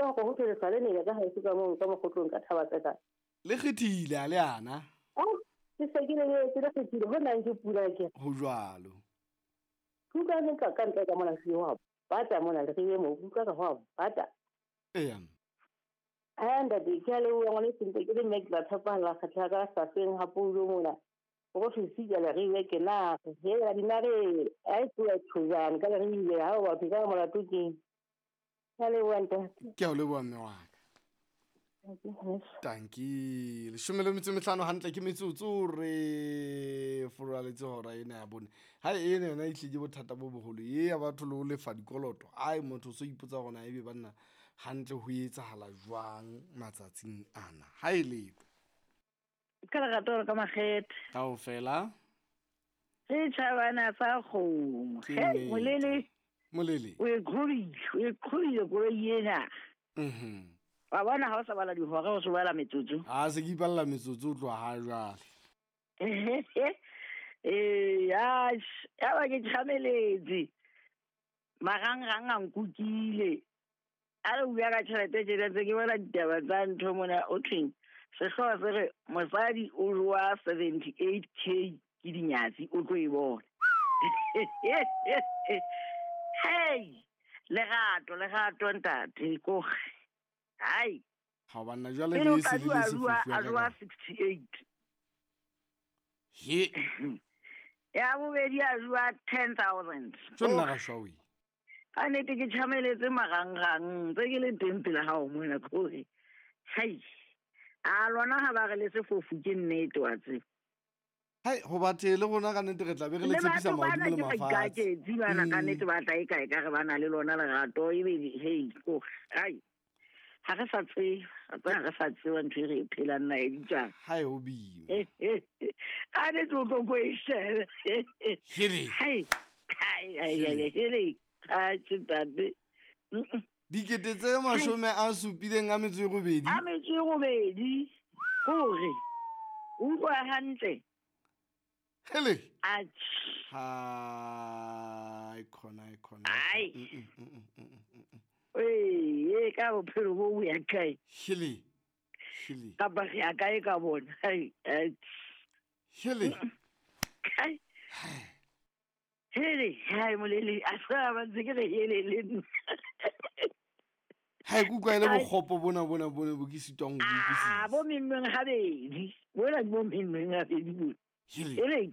utlwa hore ho thwe lesale ne ka haeso ka moo ka mokgotlong ka thaba tsa ka. Le kgethile a le ana. Ke se ke le ke le kgethile ho nang ke pula ke. Ho jwalo. Ke utlwa le ka ntle ka mona se wa bata mona le re mo utlwa ka ho bata. Eya. Ntate ke a leboha ngwaneso ntse ke le mme ke tla tshepahalla kgetla ka safeng ha pulo mona. Go fisa le re ke na he la dinare a e tloa tshojana ka re ile ha o batho ka molato ke. Ke a leboha ntate. Ke a o leboha mme wa ka. Tanki 15 hantle ke metsotso re foraletse hora ena ya bone. Ha ena yona e tlile bothata bo boholo e ya batho le ho lefa dikoloto. Ai motho so ipotsa hore na ebe banna hantle ho etsahala jwang matsatsing ana. Ha e le ka lerato ka makgethe kaofela re tjhabana sa kgomo. He molele molele o e qhobile koloi ena. Wa bona ha o sa bala dihora o se bala metsotso. Ha se ke ipalla metsotso o tloha ha jwale. Ya ba ke tjhameletse. Marangrang a nkukile. A re bua ka tjhelete tjena tse ke bona ditaba tsa ntho mona o thweng. Sehlooho se re mosadi o jowa 78K ke dinyatsi o tlo e bona. Hey, lerato ntate ko. Hai. Ha banna jwale le se le se fufu a jowa 68. He. Ya bobedi a jowa 10,000. Tsona ga shwawi. A nete ke tjhameletse marangrang tse ke le teng pele ha o mona kore. Hai. A lona ha ba re le sefofu ke nnete wa tse. Hai ho bathe le rona ka nnete re tla be re le tshepisa mahodimo le mafatshe. Ke bana ka nnete ba tla e kae ka re bana le lona lerato ebe hei ko. Hai. Ha re sa tseba, ha re sa tseba ntho e re phelang na e ditsang. Hai ho bima. A ne tlo go go e shebe. Hele. Hai. Hai hai hele. A tshitade. Dikete tse 78. A metso e robedi. Hore. Utlwa hantle. Hele. Atjhe. Hai khona khona. Ai. Ee, ka bophelo bo ya kae? Hele. Hele. Ka ba ya kae ka bona? Hai. Hele. Kai. Hele, hai molele, a sa ba ntse ke re hele le nna. Hai kutlwa ile bokgopo bona bona bona bo ke sitwang ho utlwisisa. Ah, bo memmeng habedi. Bona bo memmeng habedi bo. Hele.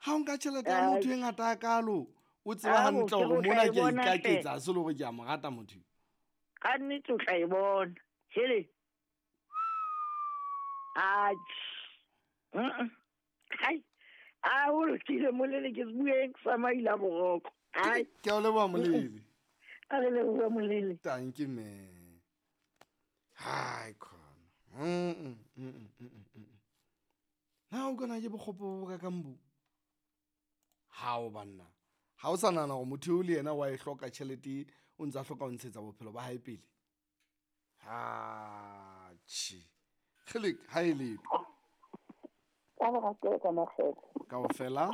Ha o nka tjhelete ya motho e ngata kalo, o tseba hantle hore mona ke a ikaketsa, se le hore ke a mo rata motho. Ka nnete o tla e bona. Hele. Atjhe. Hai. A o lokile molele ke bueng sa maila boroko. Ai. Ke a o leboha molele. A re leboha molele. Thank you man. Hai khona. Na o kana ke bokgopo bo ka kambo. Ha o banna. Ha o sa nahana hore motho eo le yena wa e hloka tjhelete o ntsa hloka ho ntshetsa bophelo ba hae pele. Ha tjhe. Kgele ha e letho. Ka lerato ka makgethe. Kaofela.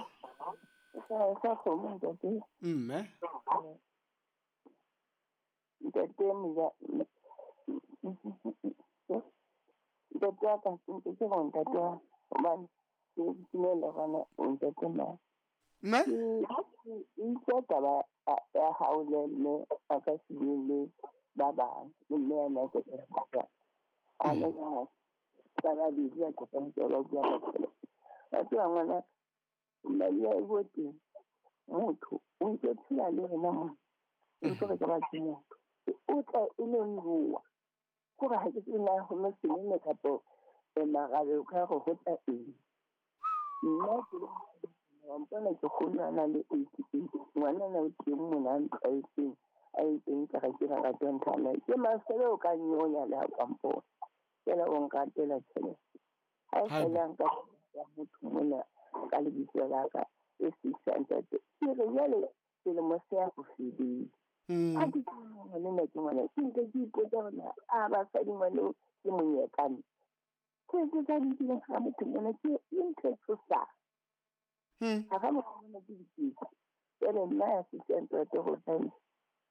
Sa kgomo ntate. Mme. Ntate mja. Ntate wa ka ke go ntate wa hobane ke dumela gona ntate ma. Mme? Ke taba ya hao le mme a ka se bue le ba bang le mme a na ke ka. A le ka taba di ya go ka ba bua ka tšhelete. Ba tseba ngwana madi a bo teng motho o ntse phela le rena mo o ntse re ka ba ke motho o tla e le nruwa gore ha ke tsena go mo sene kapo e marabe o ka go go tla eng nna ke wa mpona ke kgolwana le 88 ngwana na o teng mona a ntlwaetseng a itseng ka ga ke rata ntlhana ke masele o ka nyonya le ha ka mpona fela o nkatela tjhelete ha e fela nka ya motho mona ka lebitso la ka e 600 ke re jwale selemo se ya go fedile a ke ngwana ke ngwana ke nke ke ipotsa hore a basadi ngwana ke monyekane ke tse tsa dikileng ga motho mona ke ntho e tshosang ga ga motho mona ke diketso jwale nna ya 600 go tla